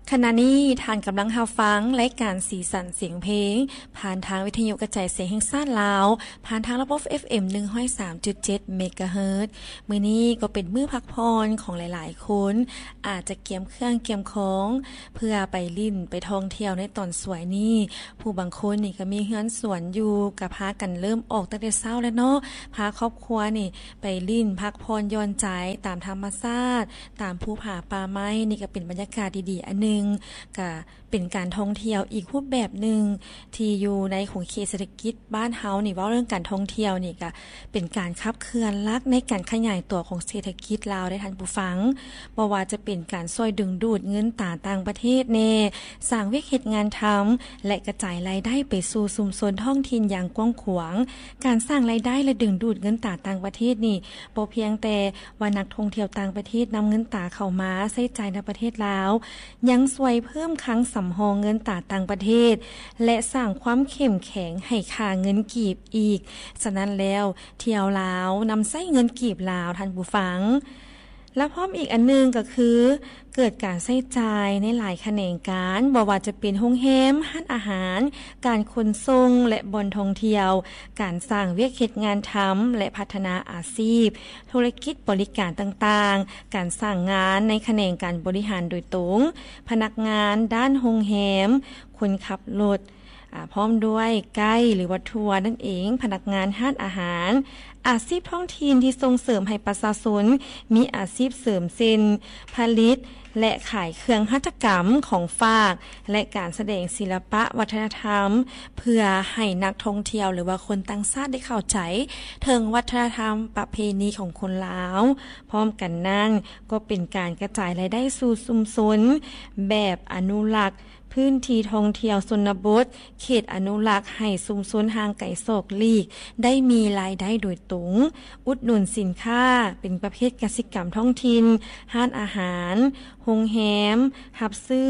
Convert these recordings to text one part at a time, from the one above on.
ຂະນະນີ້ທ່ານກຳລັງຮັບຟັງລາຍການສີສັນສຽງເພງ ຜ່ານທາງວິທະຍຸກະຈາຍສຽງແຫ່ງຊາດລາວ ຜ່ານທາງລະບົບ ເອັຟເອັມ ໜຶ່ງຮ້ອຍສາມຈຸດເຈັດ ເມກາເຮີດ. ມື້ນີ້ກໍເປັນມື້ພັກຜ່ອນຂອງຫຼາຍໆຄົນ ອາດຈະກຽມເຄື່ອງກຽມຂອງ ເພື່ອໄປຫຼິ້ນໄປທ່ອງທ່ຽວໃນຕອນສວຍນີ້. ຜູ້ບາງຄົນນີ້ກໍມີເຮືອນສວນຢູ່ ກໍພາກັນເລີ່ມອອກຕັ້ງແຕ່ເຊົ້າແລ້ວເນາະ ພາຄອບຄົວນີ້ໄປຫຼິ້ນພັກຜ່ອນຢ່ອນໃຈຕາມທຳມະຊາດ ຕາມພູຜາປ່າໄມ້. ນີ້ກໍເປັນບັນຍາກາດດີໆອັນໜຶ່ງ ກະເປັນການທ່ອງທ່ຽວອີກຮູບແບບໜຶ່ງ ທີ່ຢູ່ໃນຂົງເຂດເສດຖະກິດບ້ານເຮົານີ້. ເວົ້າເລື່ອງການທ່ອງທ່ຽວນີ້ ກະເປັນການຂັບເຄື່ອນຫຼັກໃນການຂະຫຍາຍຕົວຂອງເສດຖະກິດລາວເດ້ທ່ານຜູ້ຟັງ. ບໍ່ວ່າຈະເປັນການຊ່ວຍດຶງດູດເງິນຕາຕ່າງປະເທດແດ່, ສ້າງວຽກເຮັດງານທຳ ແລະ ກະຈາຍລາຍໄດ້ໄປສູ່ຊຸມຊົນທ້ອງຖິ່ນຢ່າງກວ້າງຂວາງ. ການສ້າງລາຍໄດ້ ແລະ ດຶງດູດເງິນຕາຕ່າງປະເທດນີ້ ບໍ່ພຽງແຕ່ວ່ານັກທ່ອງທ່ຽວຕ່າງປະເທດນຳເງິນຕາເຂົ້າມາໃຊ້ຈ່າຍໃນປະເທດລາວ, ຍັງຊ່ວຍເພີ່ມຄັງສຳຮອງເງິນຕາຕ່າງປະເທດ ແລະ ສ້າງຄວາມເຂັ້ມແຂງໃຫ້ຄ່າເງິນກີບອີກ. ສະນັ້ນແລ້ວ, ທ່ຽວລາວນຳໃຊ້ເງິນກີບລາວ, ທ່ານຜູ້ຟັງ. ແລະ ພ້ອມອີກອັນໜຶ່ງກໍຄື ເກີດການໃຊ້ຈ່າຍໃນຫຼາຍຂະແໜງການ, ບໍ່ວ່າຈະເປັນໂຮງແຮມ, ຮ້ານອາຫານ, ການຂົນສົ່ງ ແລະ ບ່ອນທ່ອງທ່ຽວ, ການສ້າງວຽກເຮັດງານທຳ ແລະ ພັດທະນາອາຊີບ, ທຸລະກິດບໍລິການຕ່າງໆ, ການສ້າງງານໃນຂະແໜງການບໍລິຫານໂດຍຕົງ, ພະນັກງານດ້ານໂຮງແຮມ, ຄົນຂັບລົດ, ອາ, ພ້ອມດ້ວຍໄກ ຫຼືວ່າທົວນັ້ນເອງ, ພະນັກງານຮ້ານອາຫານ, ອາຊີບທ້ອງຖິ່ນທີ່ສົ່ງເສີມໃຫ້ປະຊາຊົນມີອາຊີບເສີມ ເຊັ່ນ ຜະລິດ ແລະ ຂາຍເຄື່ອງຫັດຖະກຳ, ຂອງຝາກ ແລະ ການສະແດງສິລະປະວັດທະນະທຳ ເພື່ອໃຫ້ນັກທ່ອງທ່ຽວ ຫຼືວ່າຄົນຕ່າງຊາດໄດ້ເຂົ້າໃຈເຖິງວັດທະນະທຳປະເພນີຂອງຄົນລາວ. ພ້ອມກັນນັ້ນ ກໍເປັນການກະຈາຍລາຍໄດ້ສູ່ຊຸມຊົນແບບອະນຸລັກ ພື້ນທີ່ທ່ອງທ່ຽວຊົນນະບົດ, ເຂດອະນຸລັກໃຫ້ຊຸມຊົນຫ່າງໄກສອກຫຼີກໄດ້ມີລາຍໄດ້ໂດຍຕົງ, ອຸດໜູນສິນຄ້າ, ເປັນປະເພດກະສິກຳທ້ອງຖິ່ນ, ຮ້ານອາຫານ, ໂຮງແຮມ, ຮັບຊື້, ອ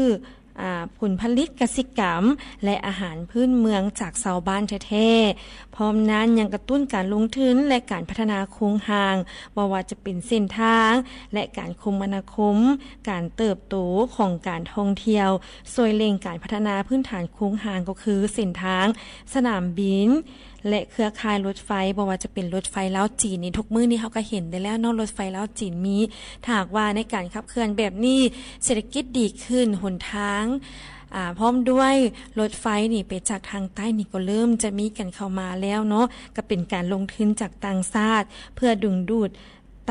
າ, ຜົນຜະລິດກະສິກຳ ແລະ ອາຫານພື້ນເມືອງຈາກຊາວບ້ານແທ້ໆ. ພ້ອມນັ້ນຍັງກະຕຸ້ນການລົງທຶນ ແລະ ການພັດທະນາໂຄງຮ່າງ, ບໍ່ວ່າຈະເປັນເສັ້ນທາງ ແລະ ການຄົມມະນາຄົມ, ການເຕີບໂຕຂອງການທ່ອງທ່ຽວ, ຊ່ວຍເລັ່ງການພັດທະນາພື້ນຖານໂຄງຮ່າງ ກໍຄືເສັ້ນທາງ, ສະໜາມບິນ ແລະ ເຄືອຂ່າຍລົດໄຟ, ບໍ່ວ່າຈະເປັນລົດໄຟລາວຈີນນີ້, ທຸກມື້ນີ້ເຮົາກໍເຫັນໄດ້ແລ້ວເນາະ, ລົດໄຟລາວຈີນມີ. ຖ້າຫາກວ່າໃນການຂັບເຄື່ອນແບບນີ້ ເສດຖະກິດດີຂຶ້ນ, ຫົນທາງ, ອາ, ພ້ອມດ້ວຍລົດໄຟນີ້ໄປຈາກທາງໃຕ້ນີ້ ກໍເລີ່ມຈະມີກັນເຂົ້າມາແລ້ວເນາະ, ກໍເປັນການລົງທຶນຈາກຕ່າງຊາດ ເພື່ອດຶງດູດ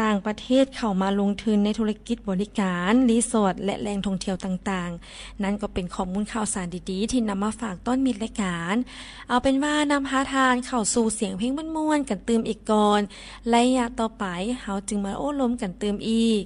ຕ່າງປະເທດເຂົ້າມາລົງທຶນໃນທຸລະກິດບໍລິການ, ຣີສອດ ແລະ ແຫຼ່ງທ່ອງທ່ຽວຕ່າງໆ. ນັ້ນກໍເປັນຂໍ້ມູນຂ່າວສານດີໆ ທີ່ນຳມາຝາກຕ້ອນມິດລາຍການ. ເອົາເປັນວ່ານຳພາທ່ານເຂົ້າສູ່ສຽງເພງມ່ວນໆກັນຕື່ມອີກກ່ອນ. ໄລຍະຕໍ່ໄປເຮົາຈຶ່ງມາໂອ້ລົມກັນຕື່ມອີກ.